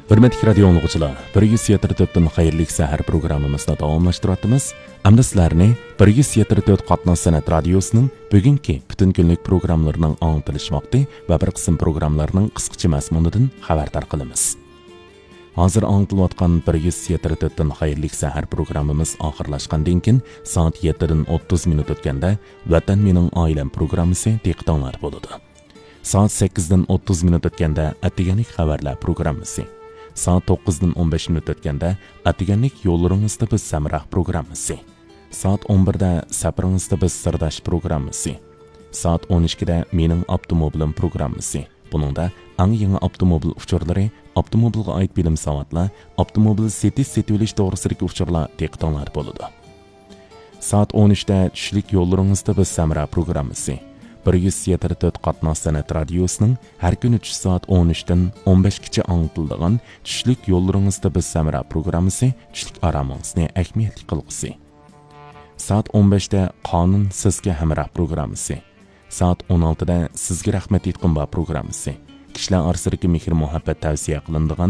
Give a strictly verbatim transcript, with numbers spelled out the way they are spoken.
ھۆرمەتلىك رادىيو ئاڭلىغۇچىلار، بىر يۈز يەتتە تۆتتىن خەيرلىك سەھەر پروگراممىمىزنى داۋاملاشتۇرۇۋاتىمىز. ئەمدى سىلەرنى بىر يۈز يەتتە تۆت قاتناش سەنئەت رادىيوسىنىڭ بۈگۈنكى پۈتۈن كۈنلۈك پروگراممىلىرىنىڭ ئاڭلىتىلىش ۋاقتى ۋە بىر قىسىم پروگراممىلارنىڭ قىسقىچە مەزمۇنىدىن خەۋەردار قىلىمىز. ھازىر ئاڭلىتىلىۋاتقان بىر يۈز يەتتە تۆتتىن خەيرلىك سەھەر پروگراممىمىز ئاخىرلاشقاندىن كېيىن، سائەت يەتتىدىن ئوتتۇز مىنۇت ئۆتكەندە، ۋەتەن مېنىڭ ئائىلەم پروگراممىسى دىققىتىڭلاردا بولىدۇ. سائەت سەككىزدىن ئوتتۇز مىنۇت ئۆتكەندە، ئەتىگەنلىك خەۋەرلەر پروگراممىسى. سائەت توققۇزدىن ئون بەش مىنۇت ئۆتكەندە، ئەتىگەنلىك يوللىرىڭىزدا بىز ھەمراھ پروگراممىسى. سائەت ئون بىردە سەپىرىڭىزدە بىز سىرداش پروگراممىسى. سائەت ئون ئىككىدە مېنىڭ ئاپتوموبىلىم پروگراممىسى. بۇنىڭدا ئەڭ يېڭى ئاپتوموبىل ئۇچۇرلىرى، ئاپتوموبىلغا ئائىت بىلىم ساۋاتلار، ئاپتوموبىل سېتىش سېتىۋېلىش توغرىسىدىكى ئۇچۇرلار دىققىتىڭلاردا بولىدۇ. سائەت ئون ئۈچتە چۈشلۈك يوللىرىڭىزدا بىز ھەمراھ پروگراممىسى. بىر يۈز يەتتە تۆت قاتناش سەنئەت رادىيوسىنىڭ ھەر كۈنى چۈش سائەت ئون ئۈچتىن ئون بەشكىچە ئاڭلىتىلىدىغان چۈشلۈك يوللىرىڭىزدا بىز ھەمراھ پروگراممىسى چۈشلۈك ئارامىڭىزنى ئەھمىيەتلىك قىلغۇسى. سائەت ئون بەشتە قانۇن سىزگە ھەمراھ پروگراممىسى. سائەت ئون ئالتىدە سىزگە رەھمەت ئېيتقۇم بار پروگراممىسى. كىشىلەر ئارىسىدىكى مېھىر-مۇھەببەت تەۋسىيە قىلىنىدىغان